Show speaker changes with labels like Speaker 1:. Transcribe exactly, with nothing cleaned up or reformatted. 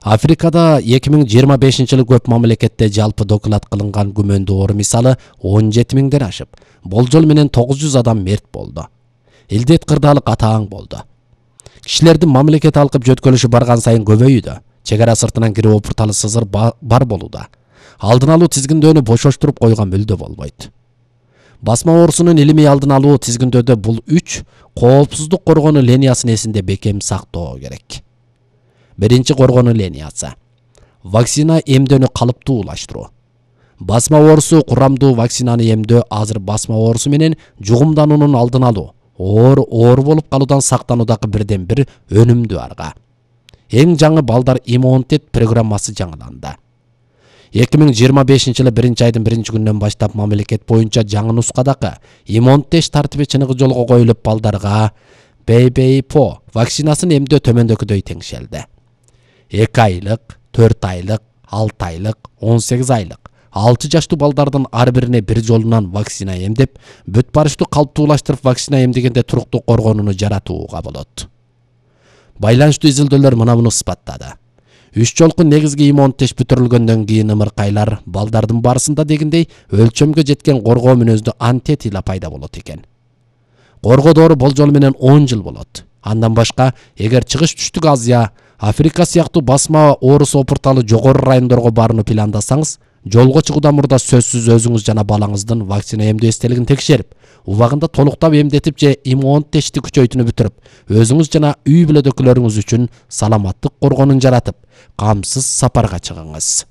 Speaker 1: Африкада эки миң жыйырма бешинчи жылы көп мамлекетте жалпы доклад кылынган күмөндүү оору мисалы он жети миңден ашып, болжол менен тогуз жүз адам мерт болду. Илдет кырдаалык атаң болду. Кишилердин мамлекет алкып жөткөлүшү барган сайын көбөйүүдө, чегара сыртынан кирип опурталы сызыр бар болууда. Алдын алуу тизгиндөөнү бошоштуруп койгон мүлдө болбойт. Басма оорусунун илимий алдын алуу тизгиндөөдө бул үч коопсуздук коргонуу линиясын эсинде бекем сактоо керек. Биринчи коргонуу линиясы. Вакцина эмдөөнү калыптуулаштыруу. Басма оорусу курамдуу вакцинаны эмдөө азыр басма оорусу менен жугумдануунун алдын алуу, оор оор болуп калуудан сактануудагы бирден бир өнүмдүү арга. Эң жаңы балдар иммунитет программасы жаңыланды. эки миң жыйырма бешинчи жылы биринчи айдын биринчи күнүнөн баштап мамлекет боюнча жаңы нускадагы иммунитет тартиби чыныгы жолго коюлуп балдарга Б Б И П О вакцинасын эмдөө төмөндөгүдөй теңшелди. эки айлык, төрт айлык, алты айлык, он сегиз айлык, алты жаштуу балдардын ар бирине бир жолунан вакцина эмдеп, бүт барыштуу калыптуулаштырып вакцина эмдегенде туруктуу коргонууну жаратууга болот. Байланыштуу изилдөөлөр мына муну ысбаттады. Үч жолку негизги иммунитет бүтүрүлгөндөн кийин ымыркайлар балдардын барысында дегендей өлчөмгө жеткен коргоо мүнөздүү антитила пайда болот экен. Коргоо доору болжол менен он жыл болот. Андан башка, эгер чыгыш түштүк Азия, Африка сыяктуу басма оорусу опурталы жогору райондорго барууну пландасаңыз, жолго чыгуудан мурда сөзсүз өзүңүз жана балаңыздын вакцина эмдөө эстелигин текшерип, убагында толуктап эмдетип же иммунитетти күчөйтүүнү бүтүрүп, өзүңүз жана үй бүлөдөгүлөрүңүз үчүн саламаттык коргонун жаратып, камсыз сапарга чыгыңыз.